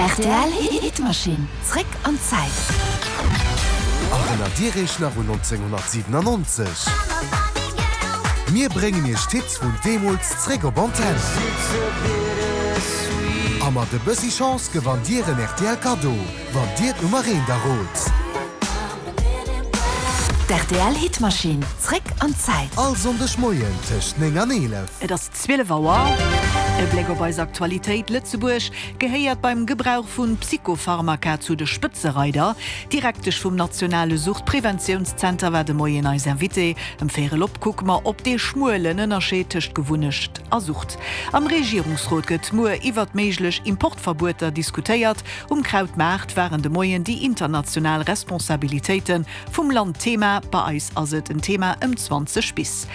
Rtl Hitmachine, zréck an d'Zäit. Erënnert Dir Iech nach un 1997? Mir bréngen Iech d'Hits vun deemools zréck op Antenn. A mat e bëssi Chance gewannt Dir en rtl Kaddo, wann Dir d'Nummer eent errot. D'RTL Hitmachine, zréck an d'Zäit. All Sonndeg Moien tëscht 9 an 11. Et ass 12 Auer. E Bléck op eis Aktualitéit, Lëtzebuerg gehéiert beim Gebrauch vu Psychopharmaka zu de Spëtzereider. D'Direktesch vum nationale Suchtpreventiounszenter war de Moien eis Invitée. Ëm véierel op kucke mer op dee schmuelen Ënnerscheed tëscht Gewunnecht a Sucht. Am Regierungsrot gëtt muer iwwert méiglech Importverbueter diskutéiert. Um Krautmaart waren de Moien déi international Responsabilitéite vum Land Thema. Bei eis ass et en Thema ëm 20 bis.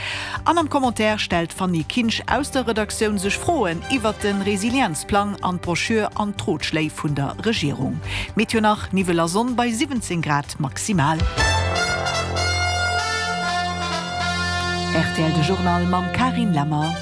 An am Commentaire stellt d'Fanny Kinsch aus der Redaktioun sech Froen iwwert de Resilienzplang an d'Broschür an d'Rotschléi vun der Regierung. Meteo nach, Niwwel a Sonn bei 17 Grad maximal. Rtl De Journal mam Carine Lemmer.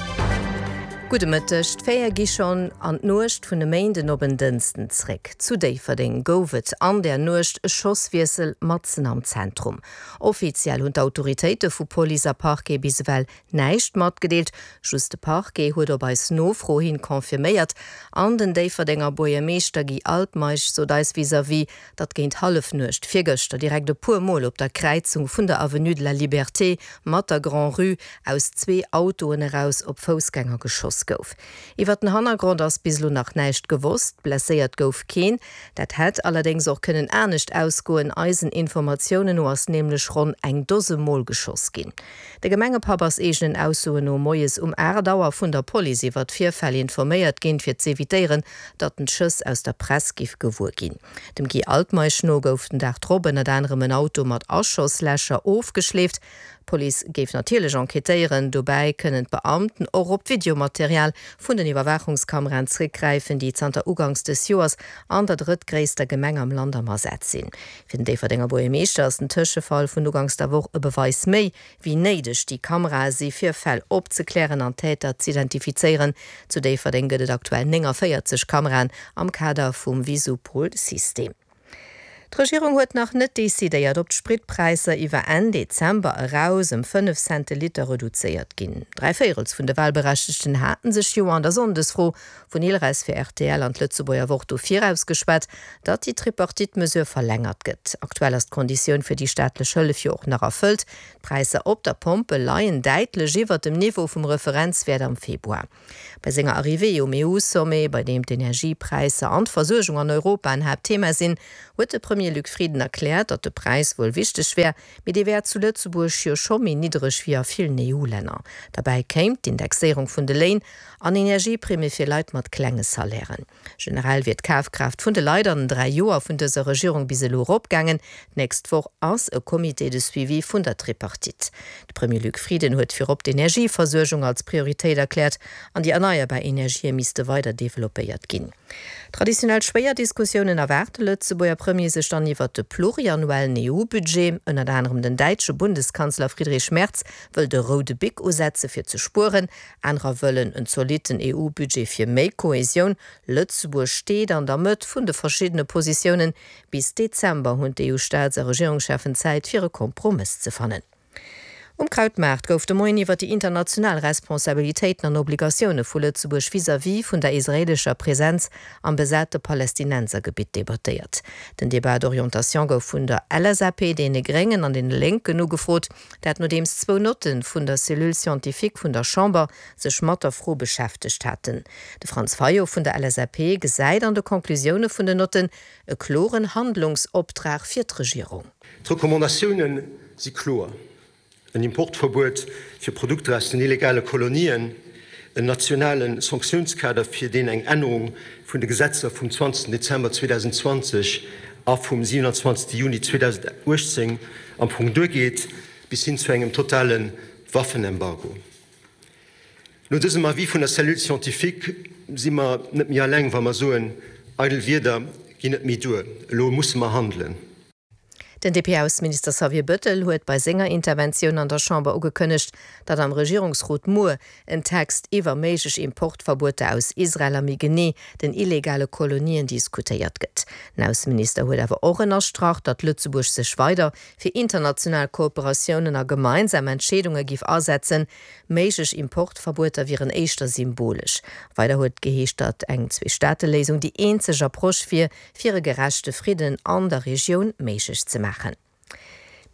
Gudde Mëtteg. D'Féier gi schonn an d'Nuecht vun e Méinden op en Dënsten zréck. Zu Déifferdeng gouf et an der Nuecht e Schosswiessel matzen am Zentrum. Offiziell hunn d'Autoritéite vu Police a Parquet bis ewell näischt matgedeelt. Just de Parquet huet op eis Nofro hin confirméiert. An den Déifferdenger Buergermeeschter Guy Altmeisch sot eis vis-à-vis, datt géint Hallefnuecht virgëschter direkt e puer Mol op der Kräizung vun der Avenue de la Liberté mat der Grand-Rue aus zwee Autoen eraus op Foussgänger geschoss gouf. Iwwer den Hannergrond ass bis elo nach näischt gewosst, blesséiert gouf keen. Dat hätt allerdéngs och kënnen anescht ausgoen, eisen Informatiounen no ass nämlech ronn eng Dose Mol geschoss ginn. De Gemengepapp ass eegenen Aussoen no moies um 8 Auer vun der Police iwwer d'Virfäll informéiert ginn, fir z'evitéieren, datt en d'Schëss aus der Press giff gewuer ginn. Dem Guy Altmeisch no gouf den Dag drop ënnert anerem en Auto mat Aschoslächer ofgeschleeft. D'Police géif natierlech enquêtéieren. Dobäi kënnen d'Beamten och op d'Videomaterial vun den Iwwerwaachungskameraen zréckgräifen, déi zanter uganks dës Joers an der drëttgréisster Gemeng am Land am Asaz sinn. Fir den Déifferdenger Buergermeeschter ass den Tëschefall vun uganks der Woch e Beweis méi, wéi néideg déi Kamerae si fir Fäll opzeklären an Täter z'identifizéieren. Zu Déifferdeng gëtt et aktuell 49 Kameraen am Kader vum Visupol-System. D'Regierung huet nach net decidéiert, ob d'Spritpräisser iwwer Enn Dezember eraus ëm 5 Cent de Liter reduzéiert ginn. Dräivéierels vun de Walberechtegten haten sech jo an der Sonndesfro vun Ilres fir rtl an d'Lëtzebuerger Wort do virausgeschwat, datt déi Tripartite-Mesure verlängert gëtt. Aktuell ass d'Konditioun fir déi staatlech Hëllef jo och nach erfëllt. D'Präisser op der Pompel leien däitlech iwwert dem Niveau vum Referenzwäert am Februar. Bei senger Arrivée um EU-Sommet, bei deem d'Energiepräisser an d'Versuergung an Europa en Haaptthema sinn, huet de Premier Luc Frieden erkläert, datt de Präis wuel wichteg wär, mee dee wär zu Lëtzebuerg jo scho méi niddereg wéi a villen EU-Länner. Derbäi kéim d'Indexéierung vun de Léin an Energieprimme fir Leit mat klenge Salairen. Generell wier d'Kafkraaft vun de Leit an den 3 Joer vun dëser Regierung bis elo eropgaangen. D'nächst Woch ass e Comité de suivi vun der Tripartite. De Premier Luc Frieden huet virop d'Energieversuergung als Prioritéit erkläert an déi erneierbar Energië misste weider developpéiert ginn. Traditionell schwéier Diskussiounen erwaart de Lëtzebuerger Premier sech dann iwwert de pluriannuellen EU-Budget. Ënnert anerem den däitsche Bundeskanzler Friedrich Merz wëll de roude Bic usetze fir ze spueren. Anerer wëllen en zolitten EU-Budget fir méi Kohesioun. Lëtzebuerg steet an der Mëtt vun de verschiddene Positiounen. Bis Dezember hunn d'EU-Staats a Regierungscheffen Zäit fir e Kompromëss ze fannen. Um Krautmaart gouf de Moien iwwer déi international Responsabilitéiten an Obligatioune vu Lëtzebuerg vis-à-vis vun der israeelescher Presenz am besate Palästinensergebitt debattéiert. Den Débat d'orientation gouf vun der LSAP, deene Gréngen an deene Lénken ugefrot. Dat nodeems zwou Notte vun der Cellule scientifique vun der Chamber sech mat der Fro beschäftegt haten. De Franz Fayot vun der LSAP gesäit an de Conclusioune vun den Notten e kloren Handlungsoptrag fir d'Regierung. D'Recommandatioune si kloer, en Importverbuet fir Produkter aus den illegale Kolonien, en nationale Sanktiounskader, fir deen eng Ännerung vun de Gesetzer vum 20 Dezember 2020 a vum 27 Juni 2018 am Fong duergeet, bis hin zu engem totale Waffenembargo. No dësem Avis vun der Cellule scientifique si mer net méi alleng, wa mer soen, Eidel Wierder ginn net méi duer, elo musse mer handelen. Den DP-Ausseminister Xavier Bëttel huet bei senger Interventioun an der Chamber ugekënnegt, datt am Regierungsrot muer en Text iwwer méiglech Importverbueter aus Israel a méi genee den illegale Kolonien diskutéiert gëtt. Den Ausseminister huet awer och ënnerstrach, datt Lëtzebuerg sech weider fir international Kooperatiounen a gemeinsam Entscheedunge giff asetzen. Méiglech Importverbueter wieren éischter symbolesch. Weider huet geheescht, datt eng Zweestaateléisung déi eenzeg Approche wier, fir e gerechte Fridden an der Regioun méiglech ze maachen.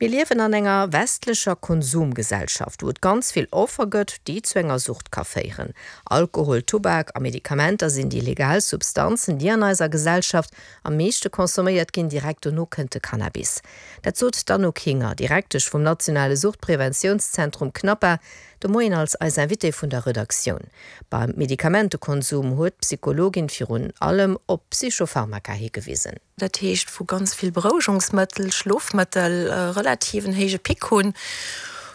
Mir liewen an enger westlecher Konsumgesellschaft, wou et ganz vill Offer gëtt, déi zu enger Sucht ka féieren. Alkohol, Tubak a Medikamenter sinn déi legal Substanzen, déi an eiser Gesellschaft am meeschte consomméiert ginn. Direkt dono kënnt de Cannabis. Dat sot d'Anouk Hinger, Direktesch vum nationale Suchtpreventiounszentrum CNAPA, de Moien als eis Invitée vun der Redaktioun. Beim Medikamentekonsum huet d'Psychologin virun allem op Psychopharmaka higewisen. Dat heescht wou ganz vill Berouegungsmëttel, Schlofmëttel relativ en héije Pic hunn,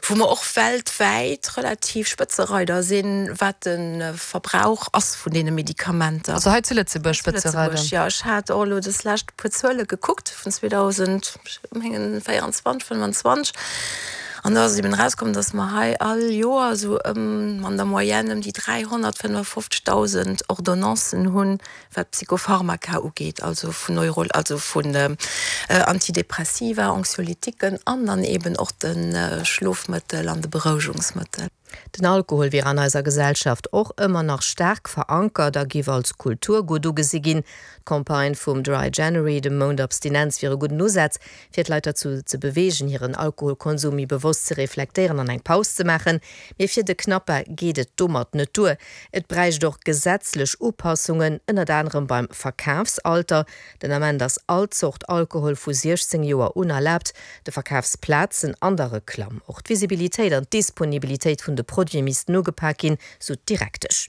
wou mer och weltwäit relativ Spëtzereider sinn, wat de Verbrauch ass vun deene Medikamenter. Also hei zu Lëtzebuerg Spëtzereider? Zu Lëtzebuerg, jo. Ech hat och elo des lescht e puer Zuele gekuckt vun 2024, 25 an do ass eben erauskomm, datt mer hei all Joer esou ëm an der Moyenne ëm déi 355.000 Ordonnancen hunn, wat Psychopharmaka ugeet, also vun Neuro, also vun Antidepressiva, Anxiolytiquen an dann eben och de Schlofmëttel an de Berouegungsmëttel. Den Alkohol wier an eiser Gesellschaft och ëmmer nach staark verankert a giff als Kulturgutt ugesi ginn. D'Campagne vum Dry January, dem Mount Abstinenz, wier e gudden Usaz, fir d'Leit derzou ze beweegen, hiren Alkoholkonsum méi bewosst ze reflektéieren an eng Paus ze maachen. Mee fir de Knappa geet et domat net duer. Et bräicht och gesetzlech Upassungen, ënnert anerem beim Verkafsalter. Den Ament ass all Zort Alkohol vu 16 Joer un erlaabt, de Verkafsplazen an der Reklamm. Och d'Visibilitéit an d'Disponibilitéit vun de Produite missten ugepak ginn, sou d'Direktesch.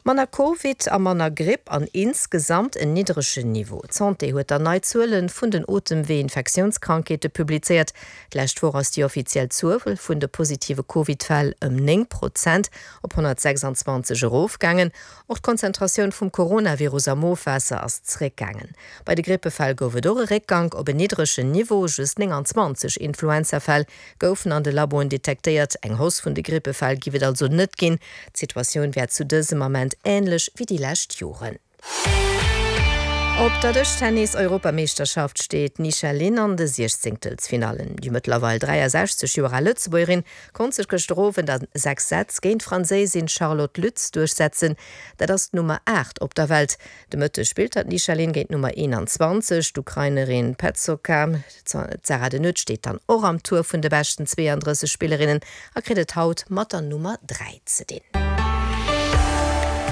Manner Covid a manner Gripp an insgesamt en niddregen Niveau. D'Santé huet dann nei Zuele vun den Otemwee-Infektiounskrankheete publizéiert. D'lescht Woch ass déi offiziell Zuel vun de positive Covid-Fäll ëm 9 Prozent op 126 erofgaangen. Och d'Konzentratioun vum Coronavirus am Ofwaasser ass zeréckgaangen. Bei de Grippefäll gouf et och e Réckgank op en niddregen Niveau, just 29 Influenzafäll goufen an de Laboen detektéiert. Eng Hausse vun de Grippefäll giff et also net ginn. D'Situatioun wär zu dësem Ament änlech wéi déi lescht Joren. Op der Dëschtennis-Europameeschterschaft steet d'Nisha Lin an de Siechzéngtelsfinallen. Déi mëttlerweil 63 Joer al Lëtzebuergerin konnt sech gëschter Owend a 6 Sätz géint d'Franséisin Charlotte Lütz duerchsetzen. Dat ass d'Nummer 8 op der Welt. De Mëtteg spillt dann d'Nisha Lin géint d'Nummer 21, d'Ukrainerin Petsoka. D'Sarah De Nutte steet dann och am Tour vun de beschten 32 Spillerinnen a kritt et haut mat der Nummer 3 ze dinn.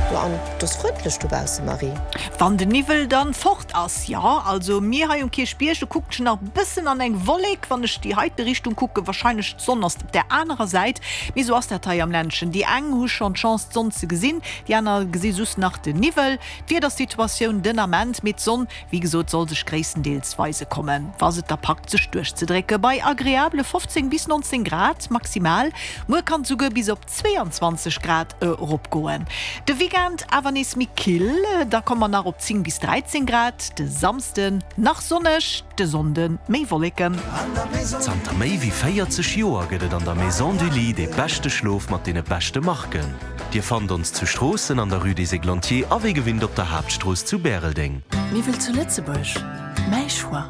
Jo, an et ass frëndlech dobausse, Marie. Wann den Niwwel dann fort ass, jo. Also mir hei um Kierchbierg, do kuckt ech nach bëssen an eng Wollek, wann ech déi heite Richtung kucken, wahrscheinlech d'Sonn ass op där anerer Säit. Mee sou ass dat hei am Ländchen, déi eng hu schonn d'Chance d'Sonn ze gesinn, déi aner gesi just nach den Niwwel. D'Wiedersituatioun den Ament, mee d'Sonn Wéi gesot soll sech gréisstendeels weise kommen, wa se et da packt sech duerchzedrécke bei agreabele 15 bis 19 Grad maximal. Muer kann et souguer bis op 22 Grad eropgoen. De Weekend awer nees méi kill, da komme mer nach op 10 bis 13 Grad. De Samsden nach sonneg, de Sonnde méi Wolleken. Zanter méi wéi 40 Joer gëtt et an der Maison du Lit dee beschte Schlof mat deene beschte Marken. Dir fannt ons zu Stroossen an der Rue des Églantiers a wéi gewinnt op der Haaptstrooss zu Bäreldeng. Miwwel zu Lëtzebuerg, mäi Choix.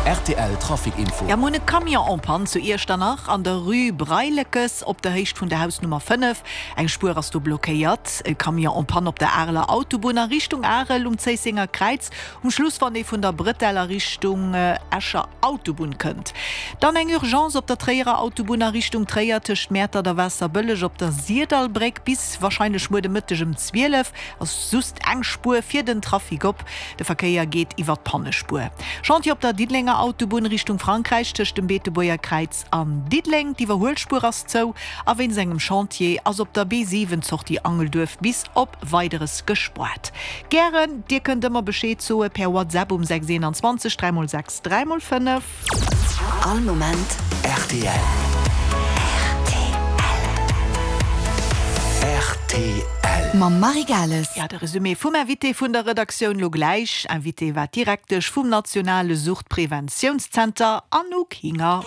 Rtl Trafic Info. Jo, mir hunn e Camion en panne zu Iechternach an der Rue Breilekes op der Héicht vun der Hausnummer 5. Eng Spuer ass do blockéiert. E Camion en panne op der Areler Autobunn a Richtung Arel um Zéissenger Kräiz. Um Schluss wann ee vun der Bretelle a Richtung Escher Autobunn kënnt. Dann eng Urgence op der Tréierer Autobunn a Richtung Tréier tëscht Mäertert a Waasserbëlleg op der Sirdallbréck. Bis warscheinlech muer de Mëtteg ëm 12 ass just eng Spuer fir den Trafic op. De Verkéier geet iwwer d'Pannespuer. Chantier op der Diddelenger Autobunn Richtung Frankräich tëscht dem Beetebuerger Kräiz an Diddeleng. D'Iwwerhuelspuer ass zou a wéinst engem Chantier ass op der B7 d'Sortie Angelduerf bis op Weideres gespoart. Gären, dir kënnt ëmmer Bescheed soe per WhatsApp um 6 21 3 x 6 3 x 5. All Moment rtl. Rtl. Rtl. Mam Marie Gales. Ja, de Resumé vum Invité vun der Redaktioun lo gläich. Invitée war d'Direktesch vum nationale Suchtpreventiounszenter, Anouk Hinger.